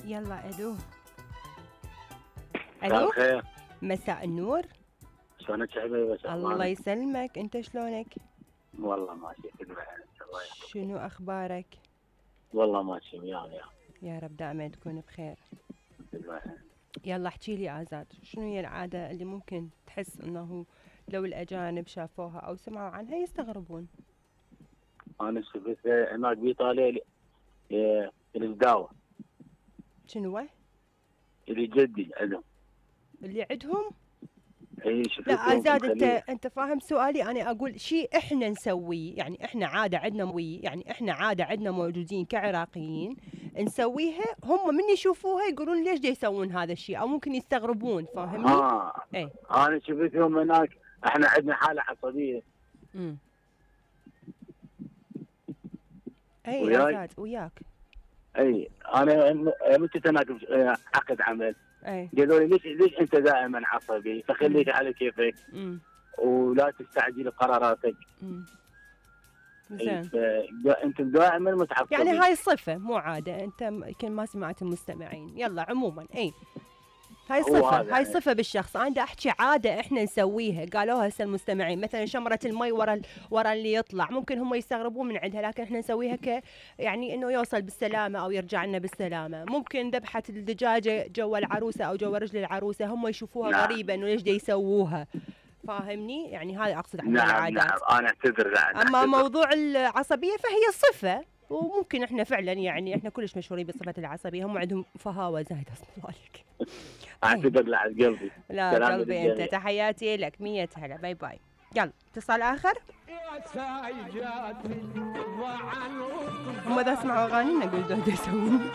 يلا الو. مساء الو الخير. مساء النور. شلونك حبيبي؟ الله يسلمك، انت شلونك؟ والله ماشي كل حال. الله يحفظك. شنو اخبارك؟ والله ماشي وياي يا رب دائما تكون بخير. كل حال. يلا احكي لي آزاد، شنو هي العادة اللي ممكن تحس انه لو الاجانب شافوها او سمعوا عنها يستغربون؟ انا شفت هناك بايطاليا الدعوة شنو اللي جدي عندهم. اللي عندهم؟ اي شفتهم. لا آزاد مخليه. انت فاهم سؤالي؟ انا اقول شيء احنا نسويه، يعني احنا عادة عندنا موجودين كعراقيين نسويها، هم من يشوفوها يقولون ليش دا يسوون هذا الشيء، او ممكن يستغربون، فاهمني؟ اي انا شفتهم هناك. احنا عندنا حالة عصبية. اي وياي؟ آزاد وياك. اي انا متى هناك عقد عمل. اي قالوا لي ليش انت دائما عصبي؟ فخليك على كيفك ولا تستعجل قراراتك. زين. انتم دائما متعصبين. يعني هاي صفة مو عادة، انت يمكن ما سمعت المستمعين. يلا عموما اي هاي صفة، هاي صفة بالشخص. انا دا احكي عادة احنا نسويها، قالوها هسه المستمعين، مثلا شمرة المي ورا اللي يطلع، ممكن هم يستغربون من عندها، لكن احنا نسويها يعني انه يوصل بالسلامة او يرجع لنا بالسلامة. ممكن ذبحة الدجاجة جوا العروسة او جوا رجل العروسة، هم يشوفوها غريبة انه ليش دا يسووها، فاهمني؟ يعني هذا اقصد عن العادات. نعم انا اعتذر. اما موضوع العصبية فهي صفة، وممكن احنا فعلا يعني احنا كلش مشهورين بصفة العصبية، هم عندهم فهاوة زايدة اصلا ذلك. اعتذر لعد قلبي. لا قلبي انت، تحياتي لك، 100 هلا، باي باي. يلا اتصال اخر. هم اذا سمعوا اغانينا قولوا يسوون